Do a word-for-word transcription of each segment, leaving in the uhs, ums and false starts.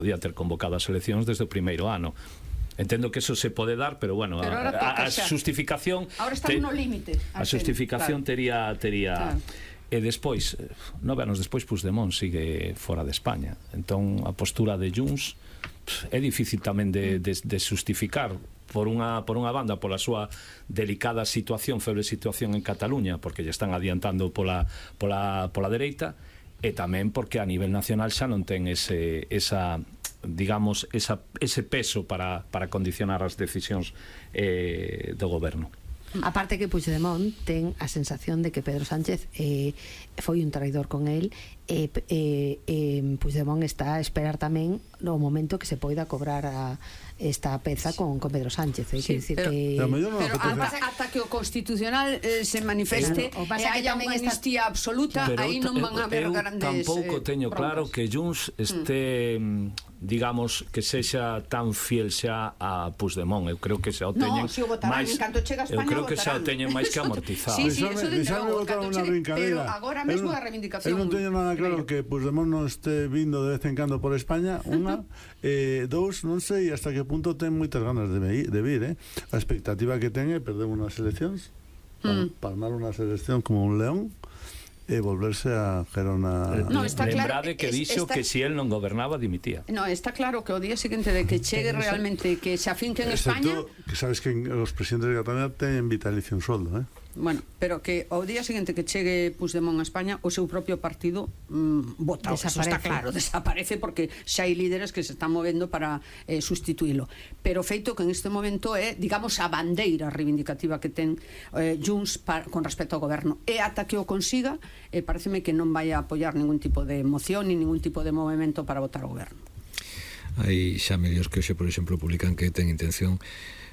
podía ter convocado as eleccións desde o primeiro ano. Entendo que eso se pode dar, pero bueno, pero a, a, a justificación ahora estamos no límite. A justificación claro. tería tería claro. E despois, nove anos despois, Puigdemont sigue fora de España. Entón, a postura de Junts é difícil tamén de, de, de justificar por unha, por unha banda pola súa delicada situación, febre situación en Cataluña, porque lle están adiantando pola, pola, pola dereita, e tamén porque a nivel nacional xa non ten ese, esa, digamos, esa, ese peso para, para condicionar as decisións eh, do goberno. Aparte que Puigdemont ten a sensación de que Pedro Sánchez eh, foi un traidor con el, e eh, eh, Puigdemont está a esperar tamén no momento que se poida cobrar a esta peza con, con Pedro Sánchez. Sí, decir pero, que... pero, no pero ata, ata que o Constitucional eh, se manifeste e haya unha amnistía absoluta, aí non van a haber grandes tampouco teño eh, claro que Junts este... Mm. digamos, que sexa tan fiel xa a Puigdemont. Eu creo que xa o teñen no, si o votarán, máis, en canto chega a España, eu creo que xa o teñen máis que amortizado. Sí, sí, eso de novo, pero agora mesmo a reivindicación. Eu non teño nada claro que Puigdemont non este vindo de vez en cando por España, unha, eh, dous, non sei hasta que punto ten moitas ganas de, me, de vir, eh? A expectativa que ten é perder unhas eleccións, mm. palmar unha selección como un león, e volverse a Gerona. No, está lembrade claro, que dixo está... que si él non gobernaba dimitía. No, está claro que o día seguinte de que chegue realmente, que se afinque en España, que sabes que os presidentes de Cataluña teñen vitalicio en sueldo, eh? Bueno, pero que ao día seguinte que chegue Puigdemont a España, o seu propio partido mmm, vota, eso está claro, desaparece, porque xa hai líderes que se están movendo para eh, sustituílo. Pero feito que en este momento é, digamos, a bandeira reivindicativa que ten eh, Junts para, con respecto ao goberno. E ata que o consiga, eh, pareceme que non vai a apoiar ningún tipo de moción ni ningún tipo de movimento para votar o goberno. Hai xa medios que hoxe, por exemplo, publican que ten intención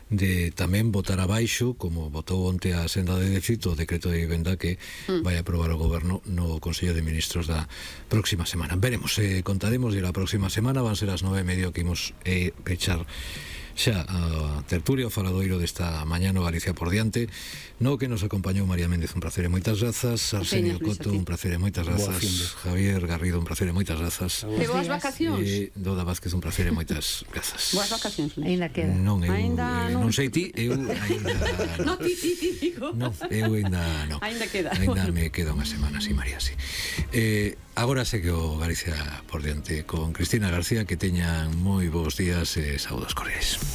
de tamén votar abaixo, como votou onte a senda de déficit, o decreto de vivenda que mm. vai aprobar o goberno no Consello de Ministros da próxima semana. Veremos, eh, contaremos e a próxima semana van ser as nove e medio que imos eh, pechar xa a tertulia, o faladoiro desta mañá no Galicia por diante, no que nos acompañou María Méndez, un placer e moitas grazas, Arsenio Coto, un placer e moitas grazas, Javier Garrido, un placer e moitas grazas, e boas vacacións, e Doda Vázquez, un placer e moitas grazas. Boas vacacións. Ainda queda. Non, eu, ainda eh, non sei ti, eu ainda no, ti, ti, ti, digo. Non, eu ainda non. Ainda queda. Ainda me queda unha semana, sí, María, sí. Eh, agora segue o Galicia por diante con Cristina García, que teñan moi bons días e saúdos cordiais.